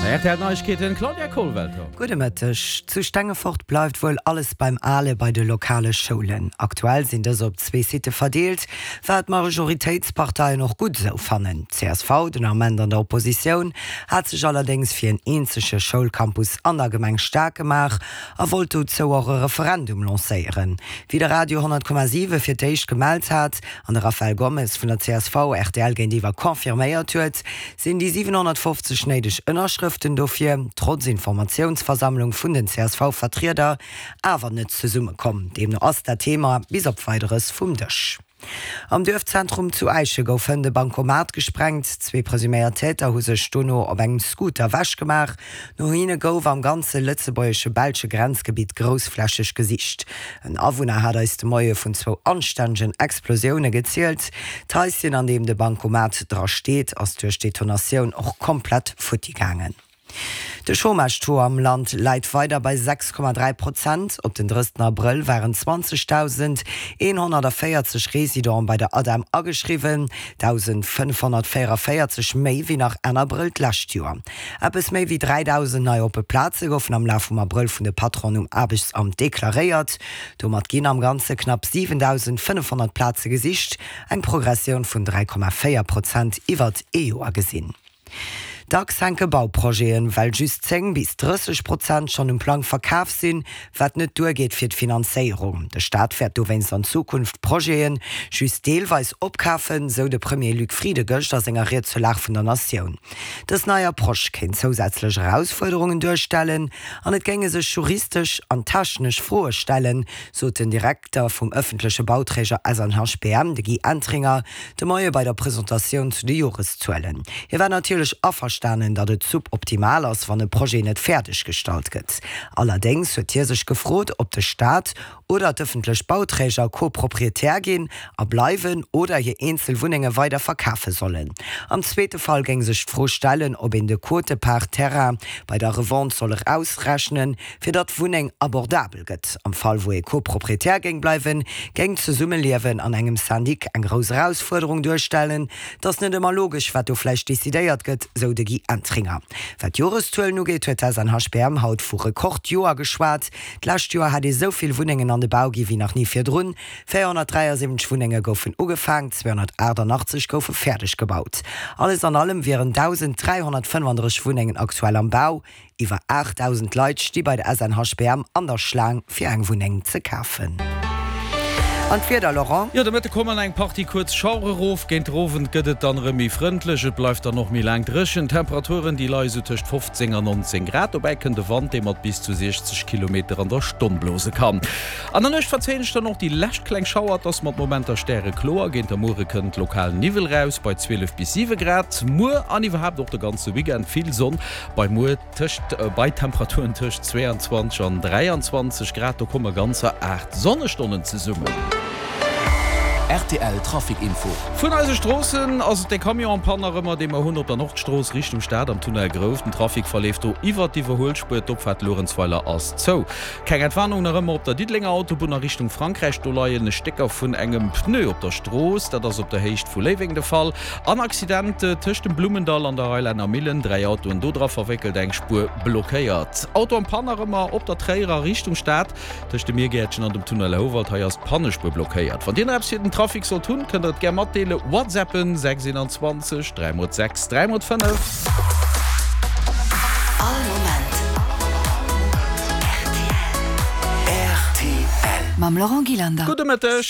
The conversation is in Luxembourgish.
Rtl Neiegkeeten, Claudia Kollwelter. Gudde Mëtteg. Zu Stengefort bleift wuel alles beim Ale bei de lokale Schoulen. Aktuell sinn dës op zwee Sitte verdeelt, wat d'Majoritéitsparteien och gutt esou fannen. D'CSV, den Ament an der Oppositioun, hat sech allerdéngs fir en eenzege Schoulcampus an der Gemeng staark gemaach a wollt dozou och e Referendum lancéieren. Wéi de Radio 10,7 fir d'éischt gemellt hat an de Rafael Gomes vun der csv rtl géintiwwer confirméiert huet, sinn déi 750 néideg Ënnerschrëften dofir, trotz Informatiounsversammlung vun den CSV-Vertrieder, awer net zesummekomm. Deemno ass dat Thema bis op Weideres vum Dësch. Am Duerfzentrum zu Äische gouf hënt e Bankomat gesprengt. Zwee presuméiert Täter hu sech dono op engem Scooter wechgemaach. No hinne gouf am ganze lëtzebuergesche-belsche Grenzgebitt groussflächeg gesicht. En Awunner hat eis de Moie vun zwou anstännegen Explosioune gezielt. D'Haischen, an deem de Bankomat dra steet, ass duerch d'Detonatioun och komplett futti gaangen. De Chômage-Taux am Land läit weider bei 6,3 Prozent. Op den 30 Abrëll waren 20.140 Residenten bei der ADEM ageschriwwen, 1.544 méi wéi nach Enn Abrëll d'lescht Joer. Eppes méi wéi 3.000 nei oppe Plaze goufen am Laf vum Abrëll vun de Patronen um Aarbechtsamt deklaréiert. Domat ginn am Ganze knapp 7.500 Plaze gesicht, eng Progressioun vun 3,4 Prozent iwwert ee Joer gesinn. Dacks hänke Bauprojeten, well just 10 bis 30 Prozent schonn um Plang verkaf sinn, wat net duergeet fir d'Finanzéierung. De Staat wäert dowéinst an Zukunft Projete just deelweis opkafen, sou de Premier Luc Frieden gëscht a senger Ried zur Lag vun der Natioun. Dës nei Approche kéint zousätzlech Erausfuerderungen duerstellen an et géinge sech juristesch an technesch Froe stellen, sot den Direkter vum ëffentleche Bauträger SNHBM, de Guy Entringer, de Moie bei der Presentatioun zu de Joreszuelen. Hie war natierlech averstanen, datt et suboptimal ass, wann e Projet net fäerdeg gestallt gëtt. Allerdéngs huet hie sech gefrot, ob de Staat oder d'ëffentlech Bauträger Co-Proprietär ginn a bleiwen oder hir eenzel Wunnenge weider verkafe sollen. Am zweete Fall géing sech d'Fro stellen, ob een de Quote-part Terrain bei der Revente soll erausrechnen, fir datt d'Wunneng abordabel gëtt. Am Fall wou ee Co-Proprietär géing bleiwen, géing d'Zesummeliewen an engem Syndic eng grouss Erausfuerderung duerstellen. Et ass net ëmmer logesch, wat do vläicht decidéiert gëtt, sou de Guy Entringer. Wat d'Joreszuelen ugeet, huet d'SNHBM haut vu Rekordjoer geschwat. D'lescht Joer hätt ee sou vill Wunnengen an de Bau gi wéi nach ni virdrun. 473 Wunnenge goufen ugefaang, 288 goufe fäerdeg gebaut. Alles an allem wieren 1.335 Wunnengen aktuell am Bau. Iwwer 8.000 Leit sti bei der SNHBM an der Schlaang fir eng Wunneng ze kafen. An d'Wieder, Laurent? Jo, de Mëtte kommen eng Partie kuerz Schauere rof. Géint den Owend gëtt et dann erëm méi frëndlech, et bleift dann och méi laang dréchen. D'Temperaturen, déi leie sou tëscht 15 an 19 Grad. Dobäi kënnt e Wand, dee mat bis zu 60 Kilometer an der Stonn blose kann. An der Nuecht verzéien sech dann och déi lescht kleng Schauer, et ass mat Momenter stärekloer. Géint der Muere kënnt lokal Niwwel raus bei 12 bis 7 Grad. Muer an iwwerhaapt och de ganze Weekend vill Sonn bei muer tëscht bei Temperaturen tëscht 22 an 23 Grad. Do komme ganzer 8 Sonnestonnen zesummen. Rtl Trafic Info. Vun eise Stroossen ass et de Camion en panne nach ëmmer, dee mer hunn op der Nordstrooss Richtung Stad am Tunnel Grouft. Den Trafic verleeft do iwwert d'Iwwerhuelspuer. D'Opfaart Luerenzweiler ass zou. Keng Entwarnung nach ëmmer op der Diddelenger Autobunn a Richtung Frankräich. Do leien Stécker vun engem Pneu op der Strooss. Dat ass op der Héicht vu Léiweng de Fall. An Accident tëscht dem Blummendall an der Reiläner Millen. 3 Autoen do dra verwéckelt, eng Spuer blockéiert. Auto am Panne nach ëmmer op der Tréierer Richtung Stad tëscht dem Miergäertchen an dem Tunnel Houwald. Hei ass d'Pannespuer blockéiert. Wann Dir nach eppes fir den Trafic sollt hunn, kënnt der et gär matdeelen. Whatsappen 6 21 3 x 6 3 x 5. All Moment rtl. Mam Laurent Gillander. Gudde Mëtteg.